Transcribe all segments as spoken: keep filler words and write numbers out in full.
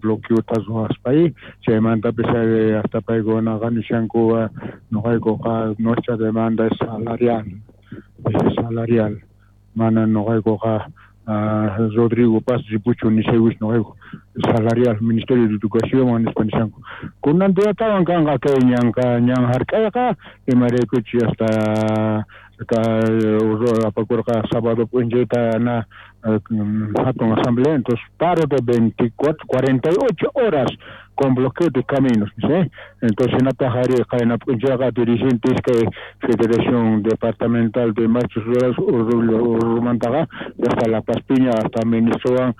Bloqueota ruwaspa chaymantapis hasta paykunaqa nishanku noqaykuqa nuestra demanda es salarial, es salarial, mana noqaykuqa Rodrigo Paz ripuchu nishaywis noqayku salarial Ministerio de Educación nispa nishanku. Kunan diatawan kanqa kay ñanqa ñan hark'ayqa imaraykuchus hasta apakurqa sábado p'unchayta na hatun asamblea, entonces paro de veinticuatro, cuarenta y ocho horas con bloqueo de caminos, ¿sí? Entonces hinataq ari qayna p'unchayqa dirigentes kay Federación Departamental de Maestros Rurales Urrumantaqa hasta La Paz Piña hasta ministrowan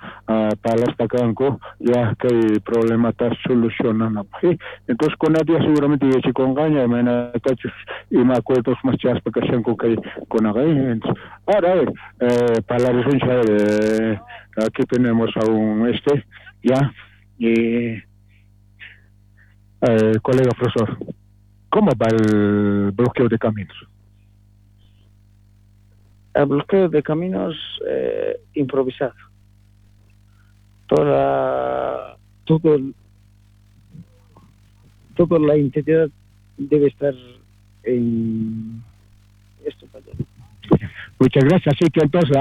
parlaspa kanku ya kay problemata solucionanapaq, ¿sí? Entonces kuna día seguramente yachakunqaña imaynatachus ima acuerdos más chaspa kashanku kay kunaqa, entonces ahora a ver, eh, parlarisunchik, a ver, eh, aquí tenemos a un este ya y Eh, colega profesor, ¿cómo va el bloqueo de caminos? El bloqueo de caminos eh, improvisado. Toda, todo, toda la integridad debe estar en esto para allá. Muchas gracias. Así que entonces,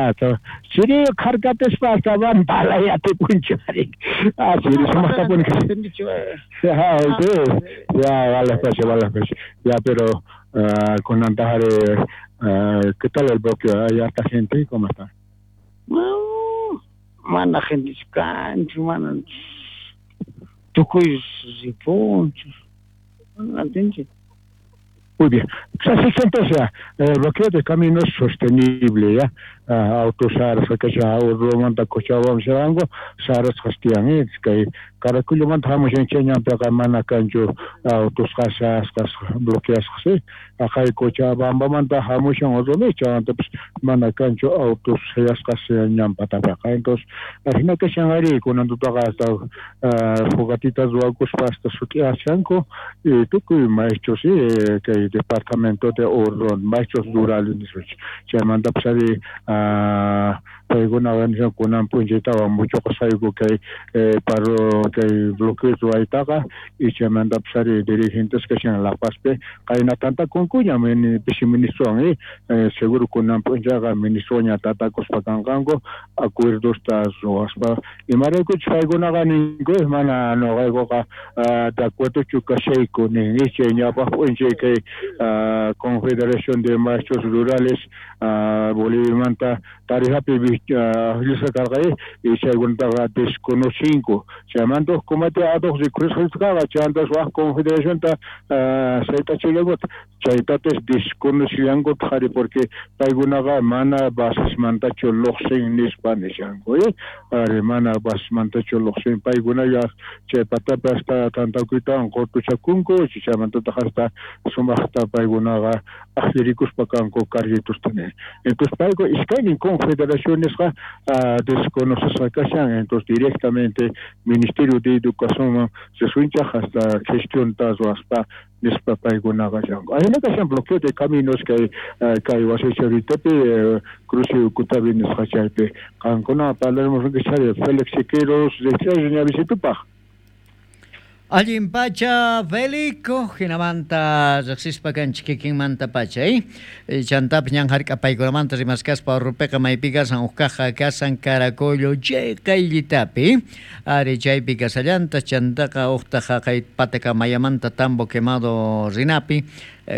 siri harkatespa hasta van palayate punchari. Ah, sí, somos tapones. Ya, ya, vale, pues, vale, pues. Ya, pero uh, con Antajare, uh, ¿qué tal el bloqueo? ¿Hay harta gente? ¿Cómo está? No, mana gente cancho, mana tukuy ripuncho. No entiendo. Muy bien. Así que entonces, el bloqueo de caminos sostenible, ya, autos saras kasha Urrumanta Cochabamba sharango saras qastiyan kay Caracolomanta hamushan chay ñanpiqa mana kanchu autos qasasqas bloqueasqas, ¿sí? Aqay Cochabambamanta hamushan Urrumi chaymantapas mana kanchu autos sayasqas ñanpatapiqa. Entonces ajina kashan ari kunan tutaqa hasta fogatitas ruwakuspa hasta sut'iyashanku y tukuy maestros, ¿sí? Kay departamento de Oruro, maestros rurales nisqanchik chaymantapas ari paykuna nishan kunan p'unchaytawan mucho qasayku kay paro kay bloqueo ruwaytaqa y chaymantapas ari dirigentes kashan La Pazpi qayna tantakunkuña pisi ministrowan, eh, seguro kunan p'unchayqa ministroña tatakuspa kanqanku acuerdosta ruwaspa imaraykuchus paykunaqa ninku mana noqaykuqa de acuerdochu kashayku nin chay ñawpaq p'unchay kay Confederación de Maestros Rurales Boliviamanta Tarijapi llisqa karqa y chaykunataqa desconocinku chaymanta huk kumati atuq rikhusqaqa chaymantas wak confederacionta saytachillankuta chaytatas desconocillankuta qhari porque paykunaqa mana basesmantachu lluqsin nispa nishanku, ari mana basesmantachu lluqsin paykunalla chay patapi hasta tantakuytawan qutuchakunku chaymantataq hasta sumaqta paykunaqa aqllirikuspa kanku carritusta. Entonces payku iskaynin confederaciones desconocesqa kashan, entonces directamente Ministerio de Educación risunchaq hasta gestionta ruwaspa nispa paykunaqa kashanku. Ajina kashan bloqueo de caminos kay kay wasicharitapi cruce Ucutapi nisqa chaypi qankuna parlaremos chari Félix Siqueiros riqsiyasña visitupaq. Allin pacha Felico, hinamanta riqsispa kanchik kikinmanta pacha, eh? Chantapis ñan hark'apaykunamanta rimaskaspa Urrupiqa maypi kasan uqkaqa kasan Caracollo chay qayllitapi, ari chaypi kasallanta chantaqa uqtaqa haqay Patacamayamanta Tambo Quemado rinapi,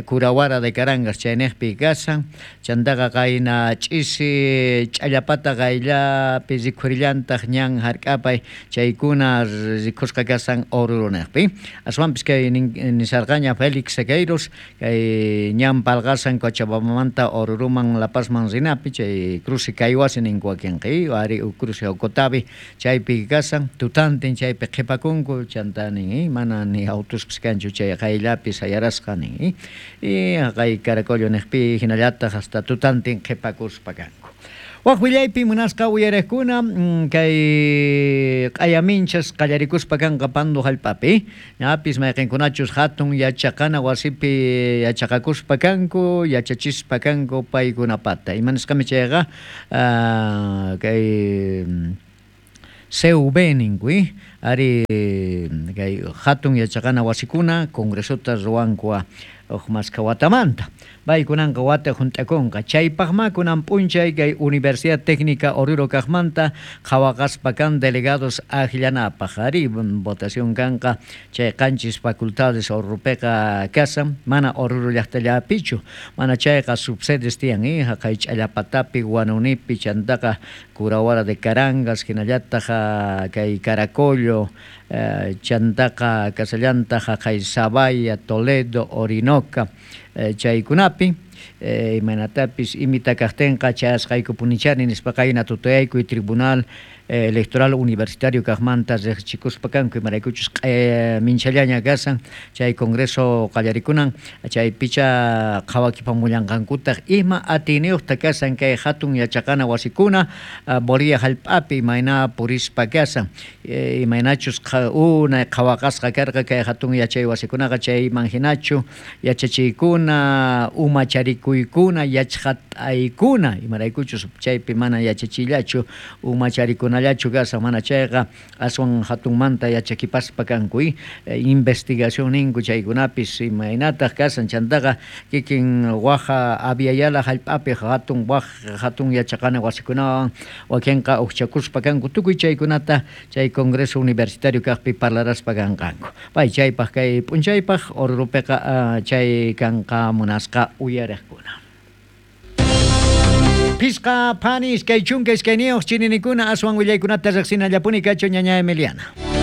Curahuara de Carangas chayniqpi kasan, chantaqa qayna ch'isi ch'allapata qayllapi rikhurillantaq ñan hark'apay chaykuna rikhusqa kasan Oruro niqpi. Aswanpis kay nisarqaña Félix Sequeiros kay ñan palqasan Cochabambamanta Oruruman La Pazman rinapi chay cruce Caywasi ninku wakinqa ari cruce Ocotavi chaypi kasan tutantin chaypi qhipakunku chanta nin mana ni autuspis kanchu chay qayllapi sayarasqa nin y haqay Caracollo niqpi hinallataq hasta tutantin qhipakuspa kanku. Wak willaypi munasqa uyariqkuna kay q'ayaminchas qallarikuspa kanqa Pando hallp'api ñapis mayqinkunachus hatun yachaqana wasipi yachaqakuspa kanku yachachispa kanku paykunapata imanisqami chayqa kay C V ninku Ari kay hatun yachaqana wasikuna congresota ruwankua uj maskha watamanta. Paykunanqa wata junt'akunqa. Chaypaqma kunan p'unchay kay Universidad Técnica Oruro kaqmanta qhawaqaspa kan delegados akllanapaq. Ari votación kanqa chay qanchis facultades Oruropiqa kasan, mana Oruro llaqtallapichu, mana chayqa subsedes tiyan, eh, haqay Ch'allapatapi, Guanunipi, chantaqa Curawara de Carangas, hinallataq kay Caracollo, eh, chantaqa kasallantaq haqay Sabaya, Toledo, Orinoca, eh, chaykunapi, eh, imaynatapis imita kaqtinqa chayasqaykupunichani nispa qayna tutayaykuy Tribunal eh, Electoral Universitario kaqmanta riqchikuspa kanku, imaraykuchus eh, minchallaña kasan chay congreso qallarikunan chay picha qhawakipamullanqankutaq ima atiyniyuqta kasan kay hatun yachaqana wasikuna uh, Bolivia hallp'api imayna purispa kasan, eh, imaynachus unay qhawaqasqa karqa kay hatun yachay wasikunaqa chayman hinachu yachachiykuna umacharikuykuna yachqat'aykuna imaraykuchus chaypi mana yachachillachu umacharikunallachu kasan, mana chayqa aswan hatunmanta yachakipaspa kanku, eh, investigación ninku chaykunapis imaynataq kasan chantaqa kikin waja aviala hallp'api hatun waj hatun yachaqana wasikunawan wakinqa uqchakuspa kanku tukuy chaykunata chay congreso universitario kaqpi parlaraspa kanqanku. Pay chaypaq kay p'unchaypaq Oruropiqa uh, chay kanqa munasqa uyariqkuna. Pisqa panis kay chunka iskayniyuq chininikuna aswan willaykunata riqsinallapuni kachu ñaña Emiliana.